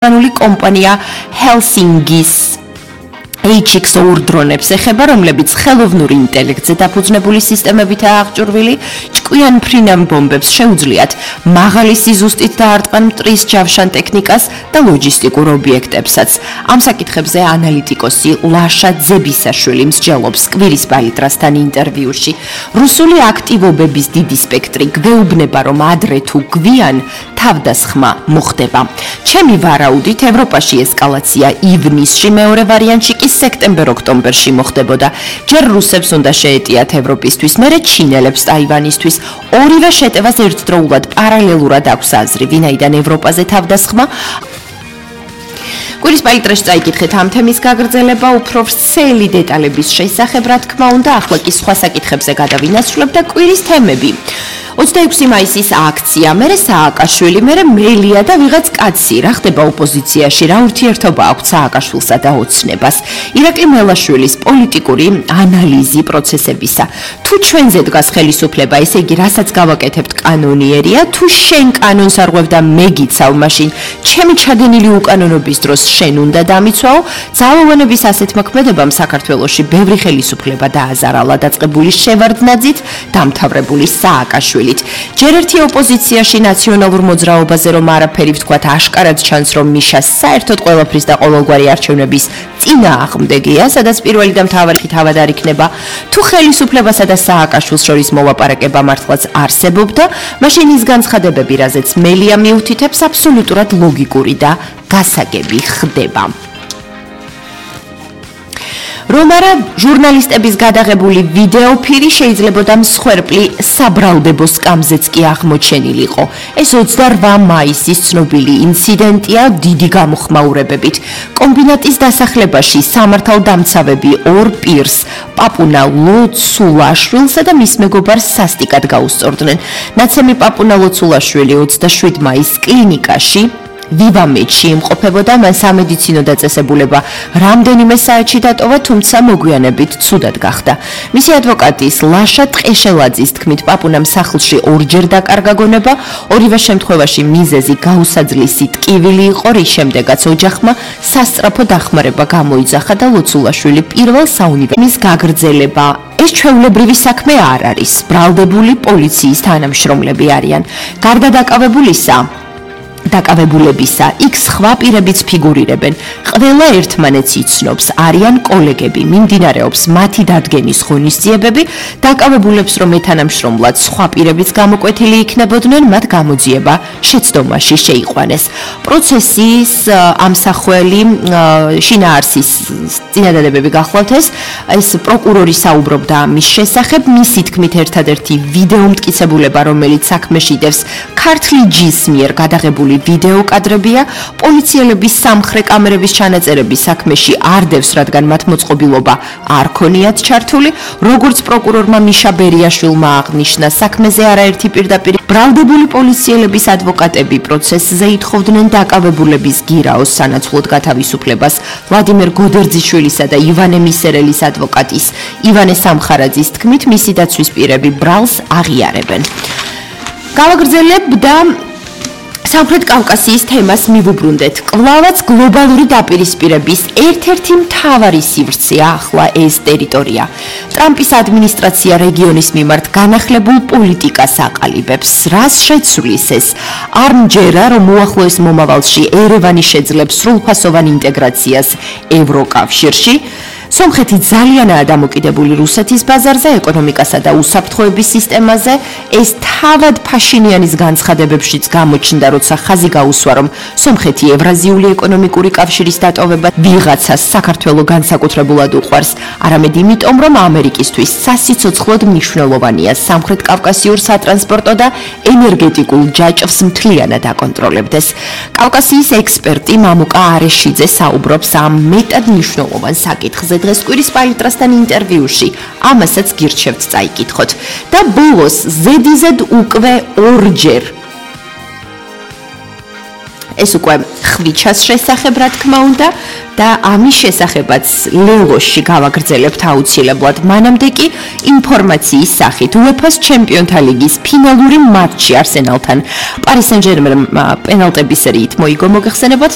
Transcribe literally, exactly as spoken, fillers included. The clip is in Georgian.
Anuli kompania Helsingis H X O დრონებს ეხება, რომლებიც ხელოვნური ინტელექტზე დაფუძნებული სისტემებითაა აღჭურვილი, ჭკვიან ფრინავ ბომბებს შეუძლიათ მაღალი სიზუსტით დაარტყან მტრის ჯავშან ტექნიკას და ლოჯისტიკურ ობიექტებსაც. Ამ საკითხებზე ანალიტიკოსი ლაშა ძებისაშვილი მსჯელობს კვირის პალიტრასთან ინტერვიუში. რუსული აქტივობების დიდი სპექტრი გვეუბნება, რომ ადრე თუ გვიან თავდასხმა მოხდება. ჩემი ვარაუდით, ევროპაში ესკალაცია ივნისში, მეორე ვარიანტში კი სექტემბერ-ოქტომბერში მოხდებოდა. ჯერ რუსებს უნდა შეეტიათ ევროპისთვის, მერე ჩინელებს ტაივანისთვის. ორივე შეტევას ერთდროულად პარალელურად აქვს აზრი, ვინაიდან ევროპაზე თავდასხმა. კვირის პალიტრაში წაიკითხეთ ამ თემის გაგრძელება, უფრო ვრცელი დეტალების შესახებ, რა თქმა უნდა, ახლა კი სხვა საკითხებზე გადავინაცვლებ და კვირის თემები. ოცდაექვსი მაისის აქცია, მერე სააკაშვილი, მერე მელია და ვიღაც კაცი, რა ხდება ოპოზიციაში, რა ურთიერთობა აქვს სააკაშვილსა და ოცნებას. ირაკლი მელაშვილის პოლიტიკური ანალიზი პროცესებისა. თუ ჩვენზე დგას ხელისუფლება, ესე იგი, რასაც გავაკეთებთ კანონიერია, თუ შენ კანონს არ ღვევ და მე გიცავ, მაშინ ჩემი ჩადენილი უკანონობის დროს შენ უნდა დამიცვაო. ძალოვანების ასეთ მოქმედებამ საქართველოში ბევრი ხელისუფლება დააზარალა დაწყებული შევარდნაძით, დამთავრებული სააკაშვილით. ჯერ ერთი ოპოზიციაში ნაციონალურ მოძრაობაზე რომ არაფერი ვთქვათ, აშკარად ჩანს, რომ მიშა საერთოდ ყველაფრის და ყოველგვარი არჩევნების წინააღმდეგია, სადაც პირველი და მთავარი თავად არ იქნება. თუ ხელისუფლებასა და სააკაშვილს შორის მოლაპარაკება მართლაც არსებობდა, მაშინ ის განცხადებები, რაზეც მელია მიუთითებს, აბსოლუტურად ლოგიკური და გასაგები ხდება. რომ არა ჟურნალისტების გადაღებული ვიდეოფირი შეიძლებოდა მსხვერპლი საბრალდებო სკამზეც კი აღმოჩენილიყო. ეს ოცდაორმა მაისის ცნობილი ინციდენტია დიდი გამოხმაურებებით. კომბინატის დასახლებაში სამართალდამცავები ორ პირს, პაპუნა ლოცულაშვილსა და მის მეგობარს სასტიკად გაუსწორდნენ. ნაცემი პაპუნა ლოცულაშვილი ოცდაშვიდ მაისს კლინიკაში ვივამედში იმყოფებოდა, მან სამედიცინო დაწესებულება რამდენიმე საათში დატოვა, თუმცა მოგვიანებით ცუდად გახდა. მისი ადვოკატის ლაშა ტყეშელაძის თქმით, პაპუნამ სახლში ორჯერ დაკარგა გონება, ორივე შემთხვევაში მიზეზი გაუსაძლისი ტკივილი იყო, რის შემდეგაც ოჯახმა სასწრაფო დახმარება გამოიძახა და ლოცულაშვილი პირველ საუნივერსიტეტის გაგრძელება. ეს ჩვეულებრივი საქმე არ არის, ბრალდებული პოლიციის თანამშრომლები არიან. გარდა დაკავებულისა დაკავებულებისა, იქ სხვა პირებიც ფიგურირებენ. ყველა ერთმანეთს იცნობს, არიან კოლეგები, მიმდინარეობს მათი დადგენის ღონისძიებები, დაკავებულებს რომ ეთანამშრომლად სხვა პირებიც გამოკვეთილი იქნებოდნენ, მათ გამოძიება შეცდომაში შეიყვანეს. პროცესის ამსახველი შინაარსის წინადადებები გახლავთ ეს, ეს პროკურორი საუბრობდა ამის შესახებ, მისი თქმით ერთადერთი ვიდეო მტკიცებულება, რომელიც საქმეში დევს ქართლი ჯის მიერ გადაღებული ვიდეო კადრებია, პოლიციელების სამხრე კამერების ჩანაწერები საქმეში არ დევს, რადგან მათ მოწყობილობა არ ქონიათ ჩართული, როგორც პროკურორმა მიშა ბერიაშვილმა აღნიშნა, საქმეზე არაერთი პირდაპირ ბრალდებული პოლიციელების ადვოკატები პროცესზე ითხოვდნენ დაკავებულების გირაოს სანაცვლოდ გათავისუფლებას, ვლადიმერ გოდერძიშვილისა და ივანე მისერელის ადვოკატის ივანე სამხარაძის თქმით, მისი დაცვის პირები ბრალს აღიარებენ. გავაგრძელებ და სამხრეთ კავკასიის თემას მივუბრუნდეთ. კვლავაც გლობალური დაპირისპირების ერთ-ერთი მთავარი სივრცეა ახლა ეს ტერიტორია. ტრამპის ადმინისტრაცია რეგიონის მიმართ განახლებულ პოლიტიკას აყალიბებს. რას შეცვლის ეს? არ მჯერა, რომ უახლოეს მომავალში ერევანი შეძლებს სრულფასოვან ინტეგრაციას ევროკავშირში. სომხეთი ძალიანაა დამოკიდებული რუსეთის ბაზარზე, ეკონომიკასა და უსაფრთხოების სისტემაზე. ეს თავად ფაშინიანის განცხადებებშიც გამოჩნდა, როცა ხაზი გაუსვა, რომ სომხეთი ევრაზიული ეკონომიკური კავშირის დატოვება ვიღაცას საქართველოს განსაკუთრებულად უყვარს, არამედ იმიტომ, რომ ამერიკისთვის სასიცოცხლოდ მნიშვნელოვანია სამხრეთ კავკასიურ სატრანსპორტო და ენერგეტიკულ ჯაჭვს მთლიანად აკონტროლებდეს. კავკასიის ექსპერტი მამუკა არეშიძე საუბრობს ამ მეტად მნიშვნელოვან საკითხზე დღეს კვირის პალიტრასთან ინტერვიუში, ამასაც გირჩევთ წაიკითხოთ. და ბოლოს ზედიზედ უკვე ორჯერ ეს უკვე ხვიჩას შესახებ, რა თქმა უნდა, და ამის შესახებაც ლელოში გავაგრძელებთ აუცილებლად. მანამდე კი ინფორმაციის სახით უეფა-ს ჩემპიონთა ლიგის ფინალური მატჩი არსენალთან პარი სენ-ჟერმენმა პენალტების სერიით მოიგო, მოგეხსენებათ.